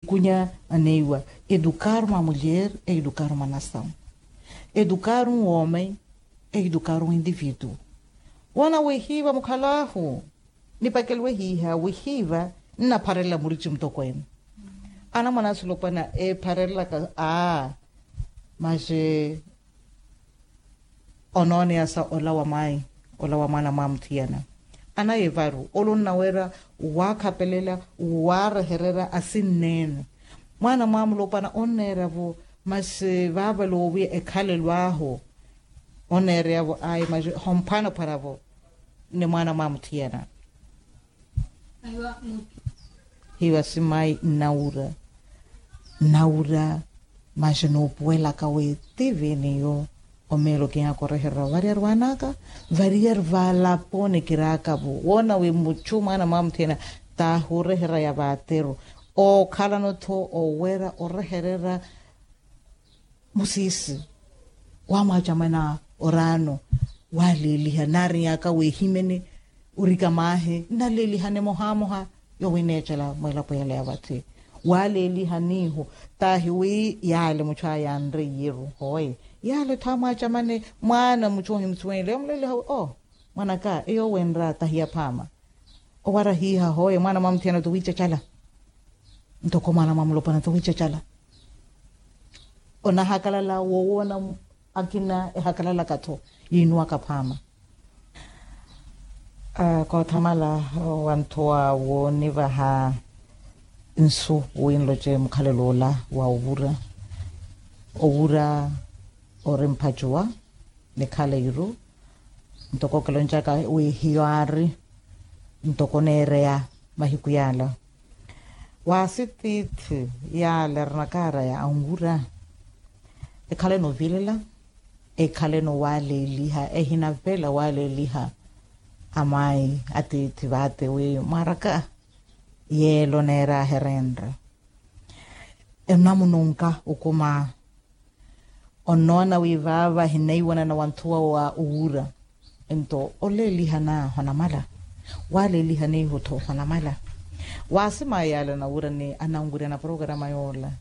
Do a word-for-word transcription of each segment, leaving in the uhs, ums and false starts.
Kunya aneiwa, edukaru ma mulher e edukaru ma nasawu. Edukaru womem e edukaru individu. Wona wihiva mukhalahu nipakeliwe hiha wihiva nnapharelela murici mutokwene. Anamwana asulopwana epharelelaka a maxe onooneyasa ola wa mayi ola wa mwana mwa muthiyana. Anaye varu ole onnawerya wakhapelela warehererya asinneene mwana mwa mulopwana onneerya-vo. Masi vaavale owiya ekhalelo ahu onneerya-vo ayi masi homphwanaphwana-vo ni mwana mwa muthiyana. Hiwa simayi nnawura nnawura. Masi noopuwelaka wi tiviniyo omeelo kinyaka orehererya variyari vanaka variyari valaponi kiraaka-vo woona wi muchu mwana mwa muthiyana tahurehererya ya vateru ookhalano-tho owerya orehererya musiisi wamwacamana oraano waleeliha naarinyaka wehimene orika maahi nnaleelihane mohamoha. Yowineecela mwilapo yale ya vathi waleeliha niihu tahi wi yale muchu aya anreiyeru hoye yale thamwacamane mwaana muchu ohimusuwenle yomuleeliha wi o mwanaka eyo wenra tahi yaphaama. Owara hiiha hoye mwaana mwa muthiyana towiicacala ntoko mwaana mwa mulopwana towiicacala. Onahakalala wowoona akina ehakalalaka-tho yiinuwaka phaama. Koothamala wanthuwa woonivaha nsu wi nloce mukhalelo ola wa owura owura ori mphacuwa nikhala iru ntoko kiloncaka wi hiyo aari ntoko oneereya mahiku yaala. Waasi tiithi yaala erinakaaraya anwura ekhaleno ovilela ekhaleno waleeliha ehinavela waleeliha amayi atiithi vaate wi mwaraka yeelo neeraaherenre enamununka okuma. Onnoona wi vaava ahineiwanana wanthuwa wa owura nto oleeliha na honamala waleeliha niihu-tho honamala. Waasi mayi yaale anawura ni ananwirya na porokarama yoola.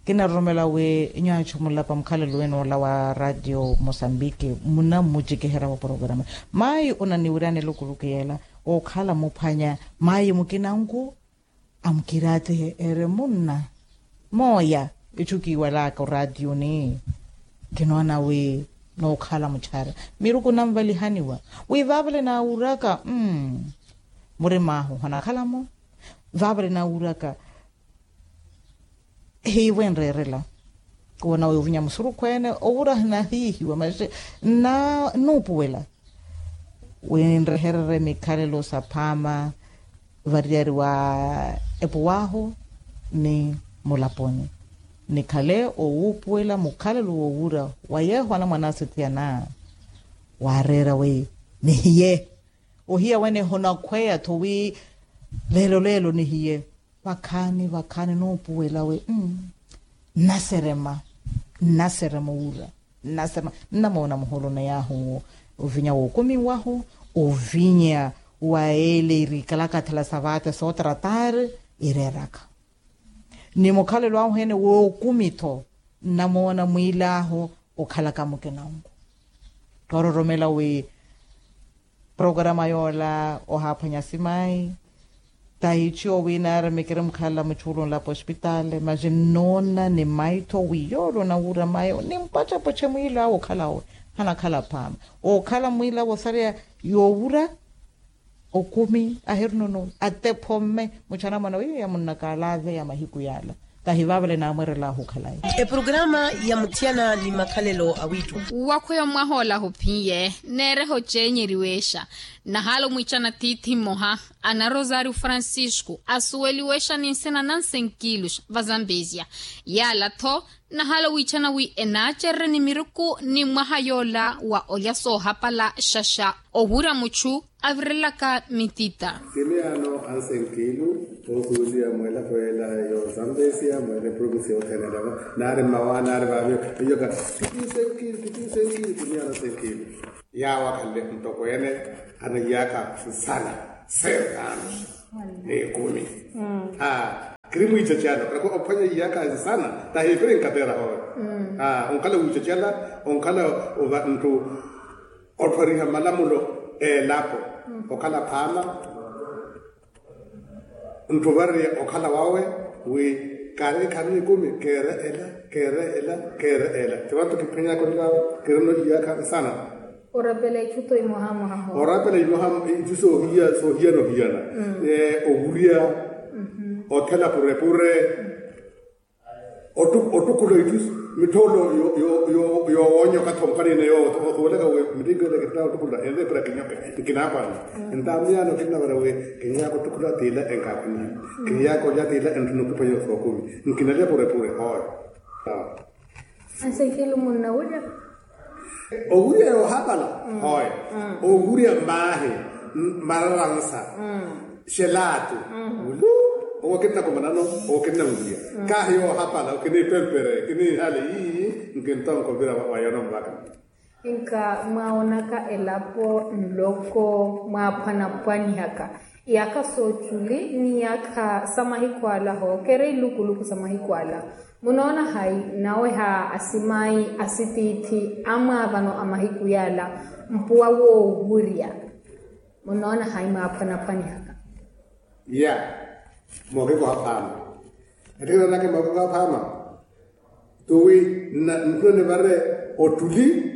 Kinaroromela wi nyuwo achu mulapa mukhalelo wene ola wa ratio mosambiki munammucikiherya wa porokarama mayi onaniwiryani elukuluku yeela ookhala muphwanya mayi mukinanku amukiraatihe eri munna mooya echu kiiwalaka orationi kinoona wi nookhala muchara miruku nanvalihaniwa wi vaavale naawuraka mmm murim'ahu honakhalamo vaavale naawuraka hiivo enreerela woona wi ovinya musurukhu ene owura hinahiihiwa masi nnuupuwela wi nrehererye mikhalelo saphaama variyari wa epuw'ahu ni mulaponi nikhale owuupuwela mukhalelo wowura wa yeeho anamwan'asu thiyana waareera wi nihiye ohiya wene honakhweya-tho wi leelo leelo nihiye vakhaani vakhaani nuupuwela wi nnaserema nnaserema owura nnaserema nnamoona muholo na yaahu ovinya wookumiwahu ovinya wa ele irikalaka athela sa vaate sootarataari ireeraka ni mukhalelo ahu ene wookumi-tho nnamoona mwiil'ahu okhalaka mukinanku toororomela wi porokarama yoola ohaaphwanya simayi tahici owiinaari mikiri mukhalala muchuulu nlapo ospitaali masi nnoona ni mayi-tho wi yoole onawura mayi nimpacapace mwiil'awe okhala owe hanakhala phaama ookhala mwiil'awe osareya yoowura okumi ahirunono atephomme muchanamana weiyo yamunnaka alaaveya mahiku yaala tahi vaavale naamwerel'ahu okhalayi. Eporokarama ya muthiyana ni makhalelo a wiitthu. Wakhweya omwaha ola ahuphiye neereha ocenyeriwexa nahaala omwiichana tiithi mmoha ana rosario francisco asuweliwexa ni nsina na nsenkiluxa va zambezia yaala-tho nahaala wiichana wi enaacererye ni miruku ni mwaha yoola wa olya soohapala xaxa owura muchu avirelaka mitita. Kimiyaano ansenkilu oosuweliwa mweelapo yeela yo zambezia mweele provinsi yothene elava naari mmawaana ari vaaviyo eyoka kitisenkilu kitisenkilu kimiyaano ansenkilu. Yaawo akhanle ntokweene anaiyaaka nsana seerano n'ekumi. Eri mwiicacala ophwanya iyaakha nsana tahi epiri nkateera hooyo. Onkhala wiicacala, onkhala nttu ottwariha malamulo elapo, okhala phaama. Nttu ovariya okhala wawe wi kaari ekharu n'ekumi keere ela, keere ela, keere ela. Ti vantu kiphwanyaka onlawa kirina iyaakha nsana. Orapela itthu to imohamoha ho. Orapela imoha itthu soohiya soohiyana ohiyana. Owurya, othela purepure. Ottukhula itthu mittholo yoowonya okathi omukhalina yoowo osuwelaka wi milingo ela kittha ottukhula enreepira kinyoke. Nkinaapwana entaamiyana okinnavara wi kinyaaka ottukhula tiila enkaakhunyiha. Kinyaaka olya tiila entthuna okiphwanya sookumi. Nkinalya purepure hooyo. Ansenkilu munnawulya. Owurya yoohapala hooyo. Owurya mmaahi, mararansa, xelaatu, ulu. Owo okinnakomanano, owo okinnawurya. Kaahi yoohapala okiniipempere kiniihale ii. Nkintonka ovira wa yoona muvaka. Nka mwaawonaka elapo nloko mwaaphwanaphwanihaka iyaakha sooculi n'iyaakha sa mahiku ala hookeera ilukuluku sa mahiku ala. Munoona hayi naweha asimayi asitiithi amwaavano a mahiku yaala mpuwa woowurya? Munoona hayi mwaaphwanaphwanihaka? Ya, mookikoha phaama. Ettikina nake mookikoha phaama. Tuwi nkhuna nivare ottuli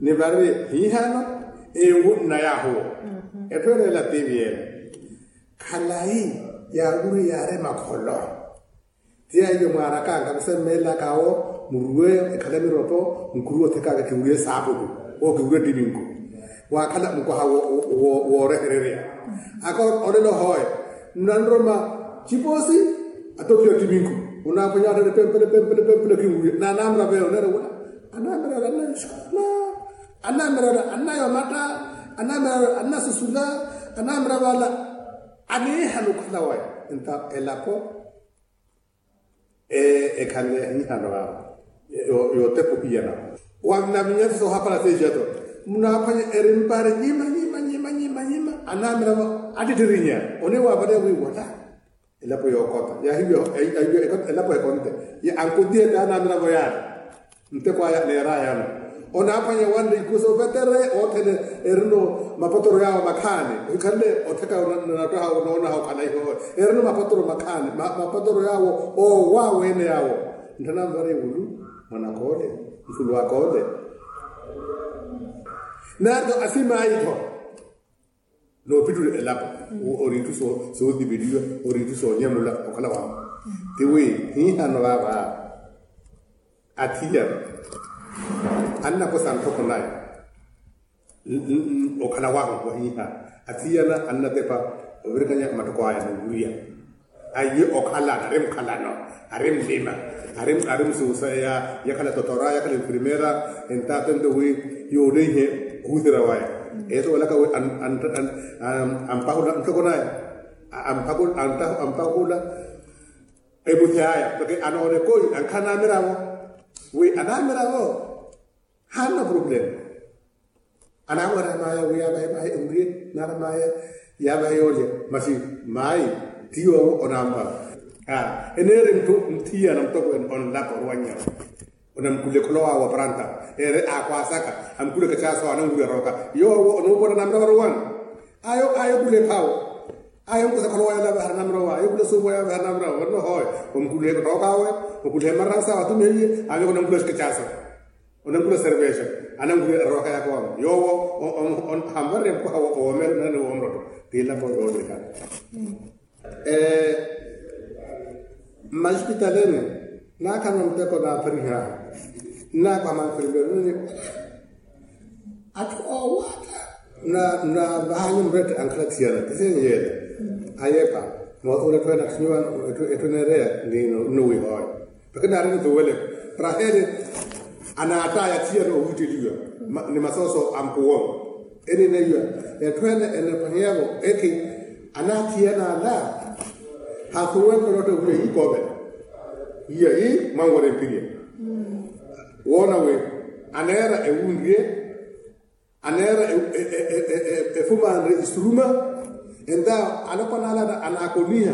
nivare hihano. Ewu nnayahuwo. Etthu ene ela tiivi ene khalayi yaawuri yaari makholo. Ti yaiyo mwaarakanga musemmeelaka awo muruwe ekhale miropo. Nkuruwe othekaka kiwuriye saapulu. Owo kiwuriye ttiminku. Waakhala mukoha woorehererya aka olelo hooyo nnanroma ciposi. Atopiya ttiminku onaaphwanya atthale pempele pempele pempele kiwuriye naanaamira veyo neera wula. Anaamira wala annayo xikola. Anaamira wala annayo matta. Anaamira wala annasusula. Anaamira wala aniihana okhala waya. Nta elapo ekhanle anihano awo yootepa ohiyana. Wanavinyasa soohapala seexato munaaphwanya eri mpari nyima nyima nyima nyima nyima. Anamiravo attittirinya oniwavaleya wi wala elapo yookota yahiviya. Elapo ekonte ankuntiyete anamiravo yaari. Nteko aya neerayano onaaphwanya wanre ikuso vetere othene erino mapotoro yaawo makhaani. Ohikhanle otheka onattoha onoonaha okhala iho erino mapotoro makhaani mapotoro yaawo owaweene yaawo. Nthananvare wulu mwanakole mfulu akole. Nato asimayi-tho noopittule elapo ori itthu sootipeliwa ori itthu soonyamula okhala wahu. Tiwi hihano vaava athiyana annakosa nthoko naye okhala wahu wahiha. Athiyana annatepa ovirikanya mattoko aya noowuriya. Aye okhalana ari mukhalano ari mlima ari musuusa yakhala totora yakhala enfermera. Entaatento wi yooleihe kuhusira waya esuwelaka wi ampahula ntoko naye ampahula. Emuthi aya mpakha anoona ekoi ankhala anamiravo wi anamiravo haana problema. Anaamwarya maya wi yaavahe mahi ewuriye nara maya yaavahe yoolya. Masi mayi ti yoowo onaampa eneeri ntthu nthiyana mutokweene onlapa orwanyawo. Onamkhule kholo wawe waparanta ere akhwaasaka amkhule kachaaso ananwurya rooka yoowo onuupona namira varowana. Ayo ayo khule phawo ayo nkusa kholo wayo lavaha namira wa ayo khule suuvo yaavaha namira wa onno hooyo omkhule rooka awe. Okhule maransa awe atumihiye ayo onamkhule kachaaso. Onankhula servesa anankhula erooka yaka wamo yoowo. Hanvarerya mukwaha woomela nani woomulotto. Tiilavo yoolekana mmaxipitaleni naakhala muteko naaphariha nnaakwaha manfirmeri nini. Atthu oowatta na vahani murette ankhala thiyana tisenyeele ayepa. Moothuula etthu ene akhinyiwa etthu neereya nino nnuwi hooyo. Lakini ari ntuwele raheli anaattaya thiyana owiitteliwa ni masooso a mpuwo. Eni neiwa etthu ene enepweheya-vo ekhi anaathiyana ala. Hasuwenle notta wiya yiikoovela iya yi mwanwerya empiriya woona wi aneera ewunrye aneera efumanre isuruma. Enta alopwana ala anaakoniha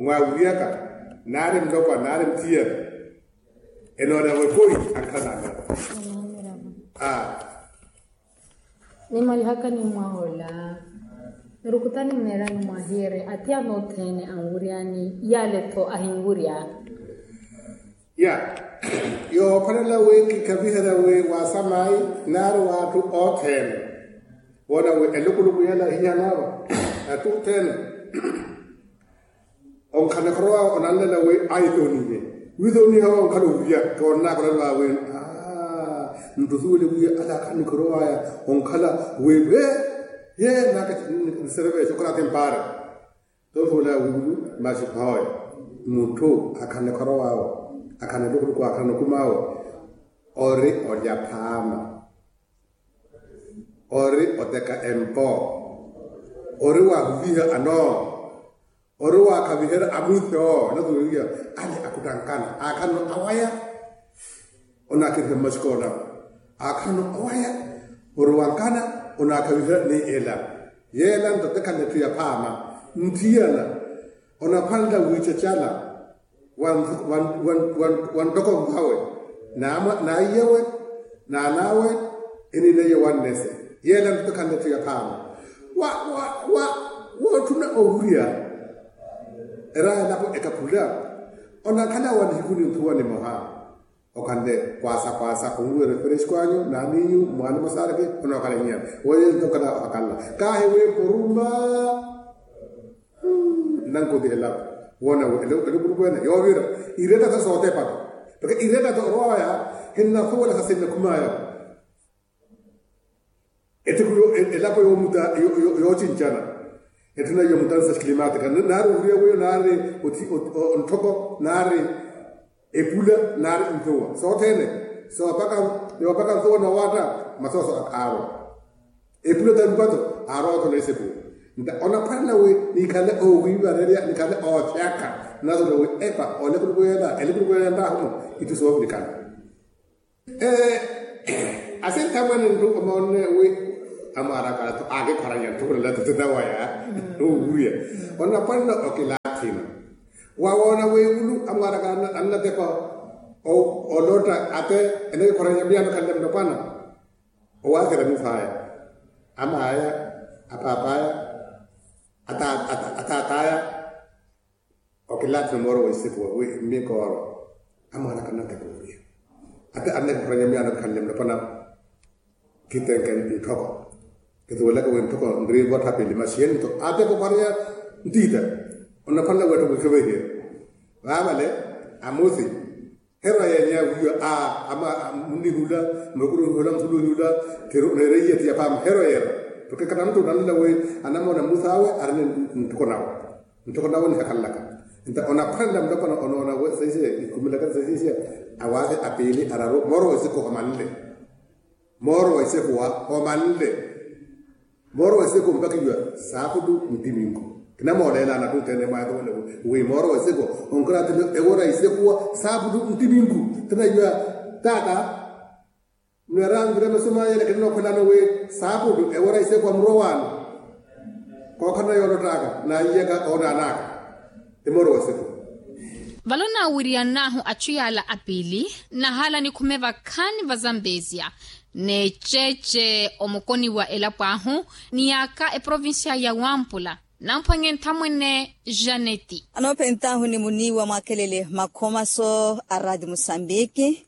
mwawiriyaka, naari mulopwa naari muthiyana, enoona wekoi ankhala naamira. Nimwalihaka ni mwahola. Nirukutani nneerani mwahiire athiyana othene anwuryani, yale-tho ahinwurya. Ya, yookholela wi kikhaviherya wi waasamayi naari w'atthu othene woona wi elukuluku yela hihanaava atthu othene. Onkhala nikhorow'awe onanlela wi aitonihe, wiitoniha wa onkhala ovirya. Koonnaka onanlela wi nttusuwele wi ala akhala nikhorow'aya onkhala wi we ye naka. Nserevexe okhora athi mpaare. Tonsuwela wiilu maxi phooya mutthu akhala nikhorow'awe, akhala nilukuluku akhala nokum'awe, ori olya phaama, ori oteka empo, ori waahuviha anoo, ori waakhaviherya amuthyo. Nasuweliwa ale akhuttankana aakhalano awaya, onaakeriha mmaxikoona aakhalano awaya, ori wankana onaakhaviherya ni ela. Yeela nto tekhala etthu ya phaama. Nthiyana onaphwanela wiicacala wa ntoko nvawe, na aiyawe, na an'awe, eniinaiye wannese. Yeela nto tekhala etthu ya phaama. Wa wa wa wootthuna owurya eraha elapo ekaphula. Onakhala wa nihiku ninthuwa nimoha, okhanle kwaasa kwaasa khunluwela eferexi kwanyu naaniinyu mwaani mwasaareke. Onookhala nyiyana woye ntokhala ohakanla kaahi wi puruma. Nnankuti elapo woona wi elukuluku ene yoovira ireetta-tho sootepa-tho. Porque ireetta-tho orowaya hinnasuwela sa sinnakhum'aya. Ettiku elapo yoocinccana, etthu nayo mutansa climatika naari ovuriya wiyo naari ntthoko naari epula naari nthuwa sothene. Soopaka nsuwa noowaatta masooso akhaarwa. Epula talupa-tho aarwa-tho neesepu. Nta onaphwanela wi nikhale oowiivarerya nikhale oothyaka. Nasuwela wi epa olekuluku yeela elukuluku yeela yantaahumo itthu soovirikana. Asinthamwene ntthu omoonne wi Amwaaraka athu aakikhoranya ntthukula nathuthu nawaya. Owuwiya onapwanela okilaathina wawoona wiivulu amwaaraka annatepa olotta ate enakikhoranya miyaano khanle mulopwana. Owaahira mithaya amaya apapaya atataya okilathina mooro wa isiku wi mikooro amwaana kannatepa owiya ate annakikhoranya miyaano khanle mulopwana. Kitenke ntthoko kituwelaka wi ntthoko nriivottha pili masi yeni nto atepa okhoranya ntiita. Onaphwanela weetta wiikhevehiye vaavale amuthi. Herwa yeenya wiiwa a ama munnihula mukuru hula mukuru hula. Tiro nereiye ti apaama herwa yeera. Porke kata muttu onanlela wi anamoona muthu awe arina nttoko nawe nttoko nawe nihakhalelaka. Nta onaphwanela mulopwana onoona wi saisiye ikhumilaka saisiye awaasi apiili araru mooro wa isiku omanle. Mooro wa isekuwa omanle. Mooro wa isekuwa mpakhiwa saaputu ntiminku. Kinamooleelana tuthene mwayathowele wi mooro wa isekuwa onkirathile ewora isekuwa saaputu ntiminku. Tinayiwa tata nwerangire masu mayele kinanookhwelano wi saaputu ewora isekuwa murowaano. Kookhalana yoolottaka naiyaka oonanaka. Emooro wa isekuwa. Vale onaawiriyan'ahu achu yaala apiili nahaala nikhume vakhaani va zambezia n'eceece omukoni wa elapo ahu ni yaaka eprovincia ya wampula. Namphwanye nthamwene janeti. Anoophent'ahu ni muniiwa mwaakelele makhomaso a raati musambiki.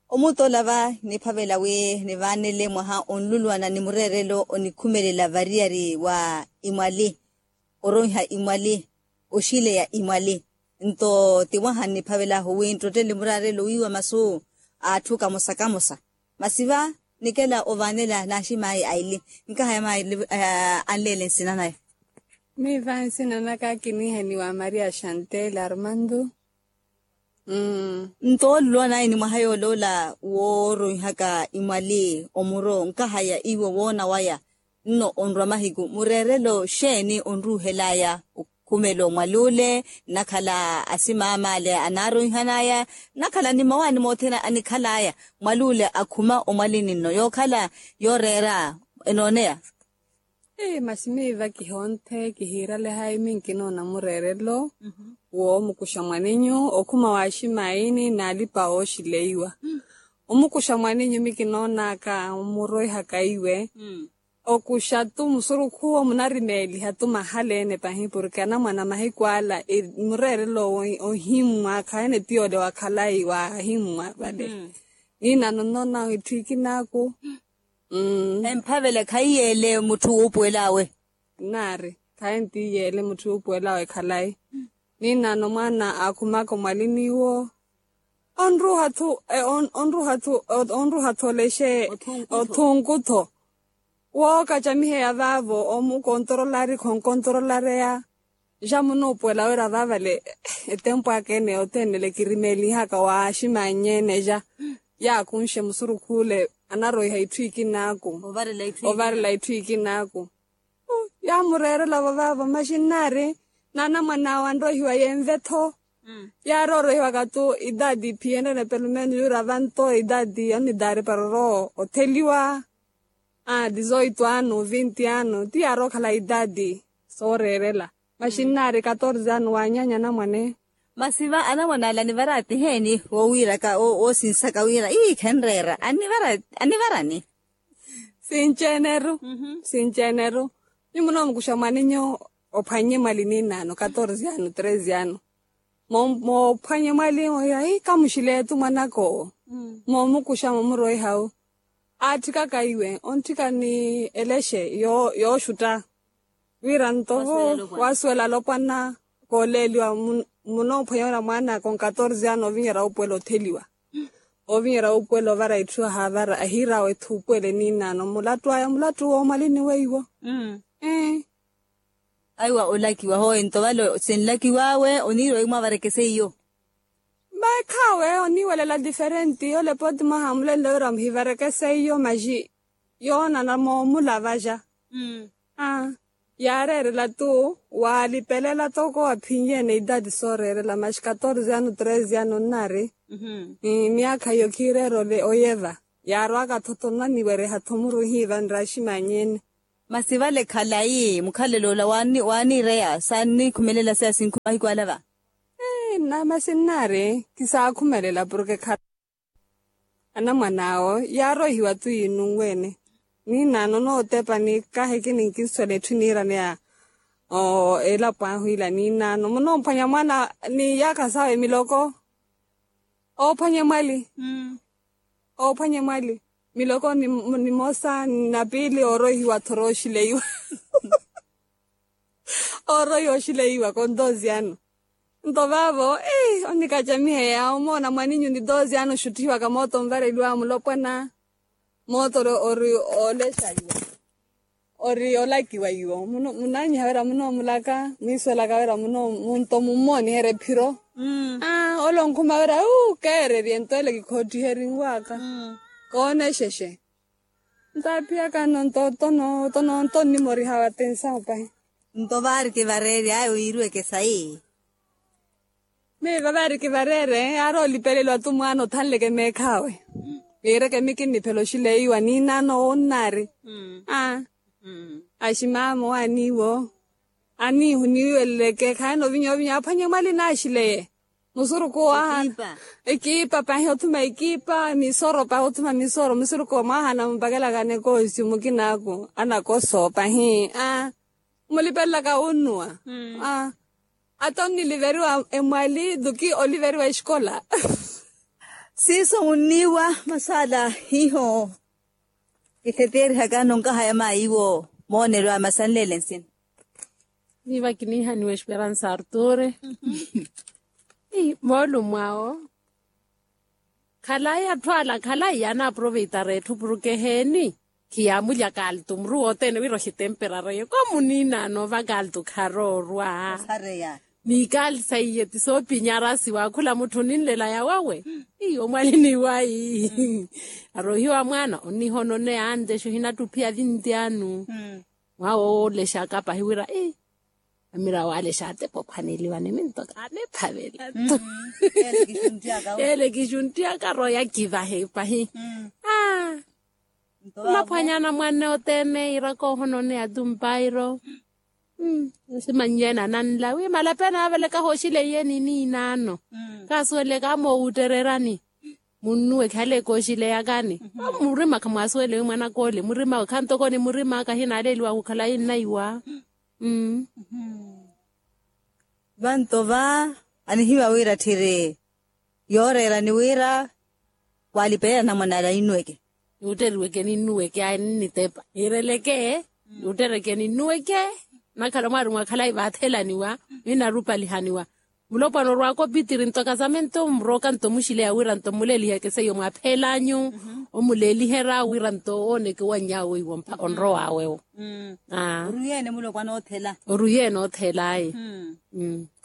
Omutola va niphavela wi nivaanele mwaha onlulwana ni mureerelo onikhumelela variyari wa imwali. Oronha imwali oxileya imwali. Nto ti mwaha nniphavel'ahu wi nttottele muraarelo wiiwa masu a atthu kamosa kamosa. Masi va nikela ovaanela naaximaayi aili. Nkahaya maayi anleele nsina naya. Miiva nsina naka kiniihaniwa maria chantel armando. Nto olulwanaayi ni mwaha yooloola wooronhaka imwali omuro nkahaya iwo woona waya. Nno onrwa mahiku mureerelo xeeni onruuhel'aya okhumela omwali ole? Nnakhala asimaamaale anaaronhan'aya nnakhala ni mawaani mothene anikhal'aya mwali ole akhuma omwalini nno yookhala yooreera enooneya. Masi miiva kihonthe kihiirale hayi minkinoona mureerelo woomukuxa mwaninyu okhuma waaximaayini n'alipa ooxileiwa. Omukuxa mwaninyu mikinoonaka omurwehaka iwe. Okuxa-tu musurukhu owo munarimeeliha-tu mahala-ene pahi porke anamwana mahiku ala mureerelo ohimmwa khayi-ene ti yoole wa khalayi waahimmwa vale. Niinano nnoona itthu ikinaaku. Emphavela khayi yeele mutthu wuupuwel'awe. Nnaari khayi-ene ti yeele mutthu wuupuwel'awe khalayi. Niinano mwaana aakhumaka omwalini-wo onruha-thu onruha-thu olexe othunku-tho. Wookacamiheya vaavo omukontorolari khonkontorolareya. Ja munoopuwela wira vaavale etempu aka ene yothene ele kirimeelihaka waaximannyene ja yaakunxe musurukhule anaroiha itthu ikinaaku. Ovarela itthu ikinaaku. Yaamureerela vavaavo maxi nnaari n'anamwan'awe anroihiwa yenve-tho. Yaaroorohiwaka-tu idadi phiyene pelumenos yura vanto idadi onidaari para oroowa otheliwa. Dizoito ano vinti ano ti yaarookhala idadi sooreerela. Maxi nnaari katorze ano waanyaanya anamwane. Masi va anamwane ala anivara atiheeni woowiiraka woosinsaka wira ii khenreera anivarani? Sinci-eneru sinci-eneru. Nyuwo munoomukuxa mwaninyu ophwannye mwali niinaano katorze ano treze ano. Moophwanye mwali oya ii kamuxile-tu mwanaka owo. Moomukuxa moomuroiha-wu aatthikaka iwe ontthika ni elexe yooxutta. Wira nto waasuwela alopwana kooleeliwa munoophwanya wira mwaan'aka onkatorze ano ovinyerya wuupuwela otheliwa. Ovinyerya wuupuwela ovara itthu ahaavara ahiir'awe thuupuwele niinaano mulattu aya mulattu woomalini weiwo. Aiwa olakiwa hooyo nto vale sinlakiw'awe oniiriwa wi mwavarekese iyo. Mekhawe oniiwelela diferenti olepo ti mwaha mulenle wira muhivarekese iyo maxi yoonana moomulavaxa. Yaareerela-tu waalipelela toko aphinyeene idadi sooreerela maxi katorze ano treze ano nnaari. Myaakha iyo khiireera oyeva. Yaarwaka thotho nnaniwereha-tho muru hiiva nraximanye-ene. Masi vale khalayi mukhalelo ola waaniireya saannikhumelela seya sinkhu mahiku ala va? Ee nna masi nnaari kisaakhumelela porke khala anamwan'awo yaaroihiwa tu yiinunwe-ene. Niinaano onootepa ni kahi kininkiswela etthu eniiraneya elapo ahu ila niinaano munoomphwanya mwaana ni yaakha sawe miloko. Oophwanye mwali. Oophwanye mwali miloko nimosa na piili ooroihiwa-tho orooxileiwa. Ooroihiwa oxileiwa kontosi ano. Nto vaavo onnikacamiheya omoona mwaninyu ni tosi ano oxuttihiwaka mooto onvareliwa mulopwana. Mooto ori oolexa iwo ori olakiwa iwo. Munaanyiha wira munoomulaka mwiiswelaka wira munto mummooniherya ephiro. Ole onkhuma wira uu keererye nto ele kikhoottihelinwaka. Koonexexe. Ntaapiyaka nno nto nto nno nto nno nto nnimoriha watensahu pahi. Nto vaari kivareerye ayo yiiriweke sayi. Miiva vaari kivareerye aari olipeleliwa tu mwaana othanleke meekhaawe. Yiireke mikinniphela oxileiwa niinaano owo nnaari. Aa aximama owaaniiwo aniihuniiweleleke khaana ovinya ovinya aphwanye mwali naaxileye. Musuruku waha ekipa pahi othuma ekipa misoro pahi othuma misoro musuruku mwahana mumpakelaka nekosi mukinaaku anakoso pahi. Mulipelelaka wunnuwa. Ata onniliveriwa emwali duki oliveriwa exikola. Siiso munniiwa masala hiho. Kitheteerihaka nonkahaya maayiwo moonelo amasanlele nsina. Niiva kiniihaniwa esperansa arturi. Moolumo awo khalayi atthu ala khalayi yaanaaproveitara etthu porke eheeni. Khiyaamulya kaltu muru wothene wira ohitemperareyo koomuniinaano va kaltu kharoorwa. Ni kaltu saiye ti soopinyarasiwa khula mutthu oninlela yawawe. Iyo mwalini wayi. Arohiwa mwaana onnihononeya antexe ohinattuphiya vinti anu. Mwawe oolexaka pahi wira ii amira waale xaatepa ophwaneliwa ni minto kaaniphavela. Ele kixunttiyaka roya kivahe pahi. Aa. Nnaphwanyana mwanne othene iira koohononeya tumpairo. Nsimannyene ananla wi malapena avelekaha oxileiye ni niinaano. Kaasuweleleka amoowuttererani. Munnuwe khale kooxileyakani. Murima khamwaasuwele wi mwanaka ole murimawe khanto koni murima kahinaaleliwa khukhala yinnaiwa. Vanto va anihiwa wira tthiri yooreerani wira waalipelela namwanala innuweke. Niwutteriweke ninnuweke ayi ninnitepa niireleke. Niwuttereke ninnuweke. Nakhala mwaari mwakhalayi vaathelaniwa. Ninarupalihaniwa. Mulopwana orwaaka opitiri nto kasamento murooka nto muxileya wira nto muleliheke seiyo mwaaphelanyu. Omuleeliherya wira nto ooneke owannyaawe iwo onrowaawe wo. Oruyeene mulopwana oothela. Oruyeene oothela ayi.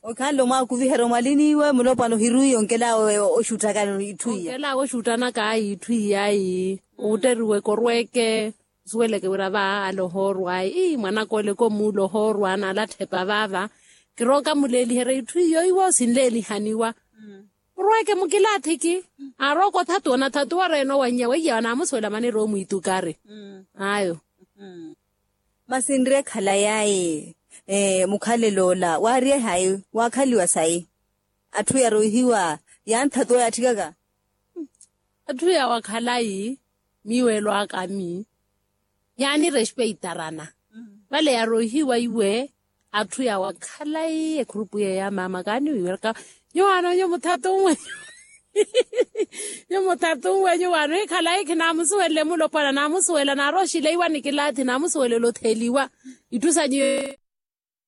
Okhanle omwaakuviherya omwalini iwe mulopwana ohirwiiye onkelaawe oxuttakani itthu iya. Onkelaawe oxuttanaka ayi itthu iya ayi. Owutteriweke orweeke. Nsuweleke wira vaala ohoorwa ayi ii mwanaka ole komuula ohoorwa naalattha epa vaava. Kirooka muleeliherya itthu iyo iwo sinleelihaniwa. Orweeke mukilaathiki. Aarooka othatuwa onathatuwa oreena owannya weiya anaamusuwela maneira omwiitukari. Ayo. Masi nri ekhalayi ayi mukhalelo ola waaryehayi waakhaliwa sayi. Atthu yaroihiwa yanthatuwa yaatthikaka. Atthu yawakhalayi miiwelo akami yaanirespeitara-na. Vale yaroihiwa iwe atthu yawakhalayi ekhurupu yeeyo ya maama kaaniwiweraka. Nyuwaano nyuwo muthatu nwenyu nyuwo muthatu nwenyu waano hikhalayi khinaamusuwelele mulopwana naamusuwela naaroxile iwa nikilaathi naamusuwelela otheliwa. Itthu sanyu